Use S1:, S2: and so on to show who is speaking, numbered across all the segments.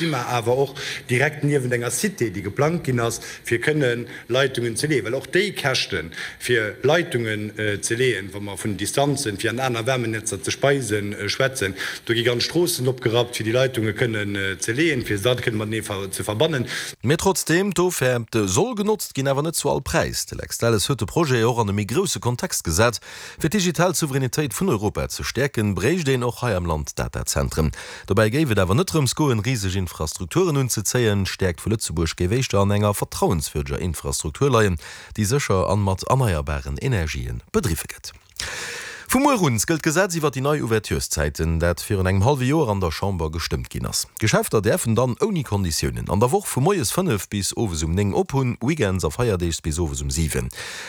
S1: Si mer awer och direkt niewent enger Cité, déi geplangt ginn ass, fir kënne Leitungen ze leeën, well och déi Käschte fir Leitungen ze leeën, wa mer vun Distanzen, fir an aner Wärmenetzer ze speisen, schwätzen, do gi ganz Stroossen opgerappt, fir déi Leitunge kënnen ze leeën, fir se da kënne matenee ze verbannen.
S2: Mee trotzdeem, d'Offerte soll genotzt ginn, awer net zu all Präis. De Lex Delles huet de Projet och an e méi grousse Kontext gesat. Fir d'digital Souveränitéit vun Europa ze stäerken, bréicht een och hei am Land Datazentren. Dobäi géif et awer net drëms goen, riseg Infrastrukturen unzezéien. D'Stäerkt vu Lëtzebuerg géif éischter an enger vertrauenswürdeger Infrastruktur leien, déi sécher an mat erneierbaren Energien bedriwwe gëtt. Vu muer un gëllt d'Gesetz iwwer déi nei Ouvertureszäiten, dat virun engem hallwe Joer an der Chamber gestëmmt ginn ass. D'Geschäfter däerfen dann ouni Konditiounen an der Woch vu moies 5 bis owes um 9 op hunn, weekends a feierdeegs bis owes um 7.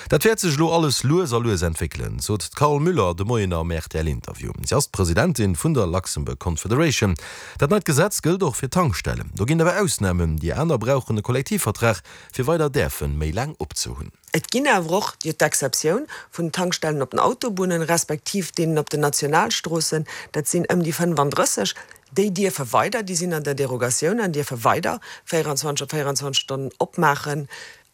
S2: Dat wäert sech elo alles lues a lues entwéckelen, sot d'Carole Müller de Moien am RTL-Interview. Si ass d'Presidentin vun der Luxembourg Confederation. Dat neit Gesetz gëllt och fir Tankstellen. Do ginn awer Ausnamen, déi aner brauchen e Kollektivvertrag, fir weider däerfe méi laang opzehunn.
S3: Et ginn awer och jo d'Exceptioun vun den Tankstellen op den Autobunnen, respektiv deenen op den Nationalstroossen, dat sinn ëm déi 35, déi dierfe weider, déi sinn an der Derogatioun an dierfe weider 24 op 24 Stonnen opmaachen.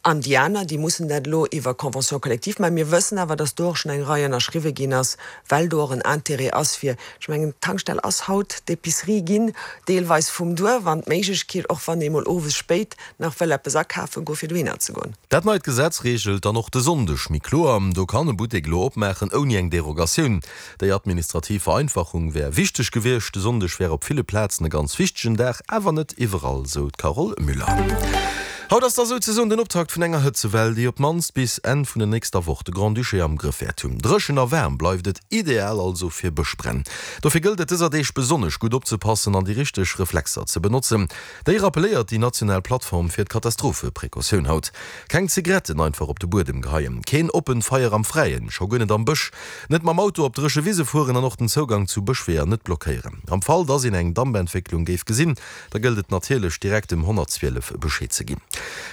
S3: An déi aner, déi mussen dat elo iwwer Convention collective maachen. Mir wëssen awer, dass do och schonn eng Rei ënnerschriwwe ginn ass, well do och en Intérêt ass fir, ech mengen, d'Tankstell ass haut d'Épicerie ginn, deelweis vum Duerf, an d'Méiglechkeet, och wann ee mol owes spéit nach wëll eppes akafe goen, fir dohinner ze goen.
S2: Dat neit Gesetz reegelt dann och de Sonndeg méi kloer. Do kann e Buttek elo opmaachen ouni eng Derogatioun. Déi administrativ Vereinfachung wär wichteg gewiescht. De Sonndeg wär op ville Plazen e ganz wichtegen Dag, awer net iwwerall, sou d'Carole Müller. Haut ass da souzesoen den Optakt vun enger Hëtzewell, déi op d'mannst bis Enn vun der nächster Woch de Grand-Duché am Grëff wäert hunn. Dréchen a waarm bleift et, ideal also fir Bëschbränn. Dofir gëllt et dëser Deeg besonnesch gutt opzepassen an déi richteg Reflexer ze benotzen. Déi rappelléiert déi national Plattform fir d'Katastrophe-Precautioun haut. Keng Zigaretten einfach op de Buedem geheien, keen oppent Feier am Fräien, scho guer net am Bësch, net mam Auto op dréche Wise fueren an och den Zougang zu Bëschweeër net blockéieren. Am Fall, dass een eng Dampentwécklung géif gesinn, da gëllt et natierlech direkt dem 112 Bescheed ze ginn.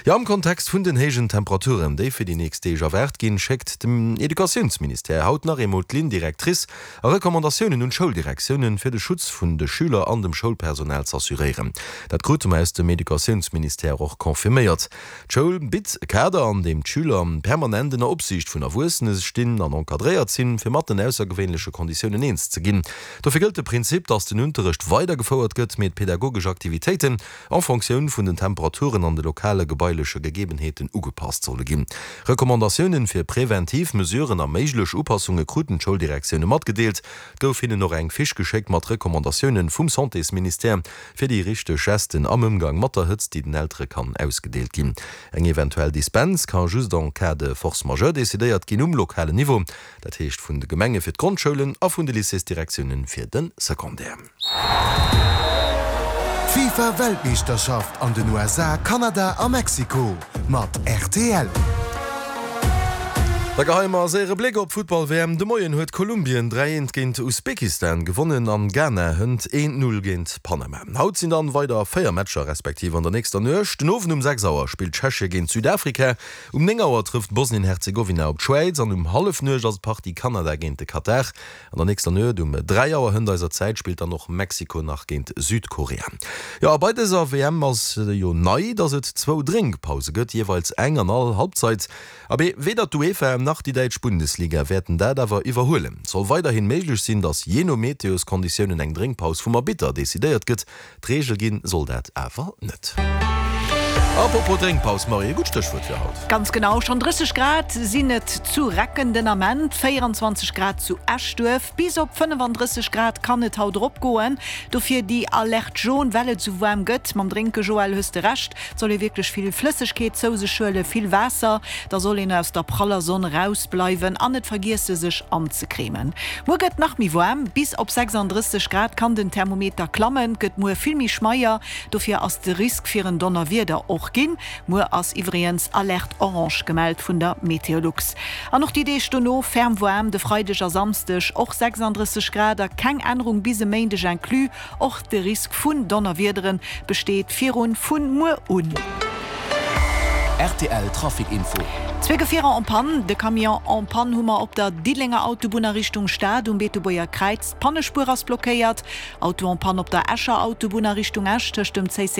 S2: Jo, am Kontext vun den héijen Temperaturen, déi fir déi nächst Deeg erwaart ginn, schéckt den Educatiounsministère haut nach eemol d'Ligne directrice a Recommandatiounen un d'Schouldirektiounen, fir de Schutz vun de Schüler an dem Schoulpersonal z'assuréieren. Dat krute mer aus dem Educatiounsministère och confirméiert. D'Schoul bitt e Kader, an deem d'Schüler permanent ënner Opsiicht vun Erwuessene stinn an encadréiert sinn, fir mat den aussergewéinleche Konditiounen eens ze ginn. Dofir gëllt de Prinzip, dass den Unterrecht weidergefouert gëtt, mee d'pedagogesch Aktivitéiten en Fonctioun vun den Temperaturen an de lokale gebaileche Gegebenheeten ugepasst solle ginn. Recommandatiounen fir präventiv Mesuren a méiglech Upassunge kruten d'Schouldirektioune matgedeelt. Et gouf hinnen och eng Fiche geschéckt mat Recommandatiounen vum Santésministère fir déi richteg Gesten am Ëmgang mat der Hëtzt, déi den Eltere kann ausgedeelt ginn. Eng eventuell Dispens ka just en cas de force majeure decidéiert ginn um lokalen Niveau, dat heescht vun de Gemenge fir d'Grondschoulen a vun de Lycéesdirektiounen fir de Secondaire.
S4: D'FIFA Weltmeeschterschaft an den USA, Kanada a Mexiko mat rtl.
S2: Da geheie mer e séiere Bléck op d'Futtball-WM. De Moien huet Kolumbien 3, 1 géint Usbekistan gewonnen an Ghana hënt 1, 0 géint Panama. Haut sinn dann weider 4 Matcher, respektiv an der nächster Nuecht. Den Owend um 6 Auer spillt Tschechie géint Südafrika, um 9 Auer trëfft Bosnien-Herzegowina op d'Schwäiz an um Hallefnuecht ass d'Partie Kanada géint de Katar. An der nächster Nuet um 3 Auer hënt eiser Zäit spillt dann och Mexiko nach géint Südkorea. Jo a bei dëser WM ass jo nei, dass et zwou Drénkpause gëtt, jeeweils eng an all Halbzeit. Abee, weder d'UEFA nach déi däitsch Bundesliga wäerten dat awer iwwerhuelen. Et soll weiderhin méiglech sinn, dass jee no Meteoskonditiounen eng Drénkpaus vum Arbitter decidéiert gëtt. D'Reegel ginn soll dat awer net. Apropos Drénkpaus, Marie, e gutt Stéchwuert fir haut.
S5: Ganz genau, schonn 30 Grad sinn et zu Recken den Ament, 24 Grad zu Eschduerf. Bis op 35 Grad kann et haut eropgoen. Dofir déi Alerte jaune, well et esou waarm gëtt. Mam Drénke, Joël, hues de Recht, et soll ee wierklech vill Flëssegkeet zou sech huelen, vill Waasser. Da soll een aus der praller Sonn erausbleiwen an net vergiesse sech anzecremen. Muer gëtt nach méi waarm, bis op 36 Grad kann den Thermometer klammen. Gëtt muer vill méi schmeier, dofir ass de Risk fir en Donnerwieder och ginn. Muer ass iwwregens Alerte orange gemellt vun der Meteolux. An och déi Deeg dono ferm waarm, de Freideg a Samsdeg och 36 Grad a keng Ännerung bis e Méindeg inclus. Och de Risk vun Donnerwiedere besteet virun vun muer un.
S4: Rtl Trafic Info.
S5: Zwee Gefierer en panne. De Camion en panne hu mer op der Diddelenger Autobunn a Richtung Stad um Beetebuerger Kräiz. D'Pannespuer ass blockéiert. Auto en panne op der Escher Autobunn a Richtung Esch tëscht dem Zéissenger.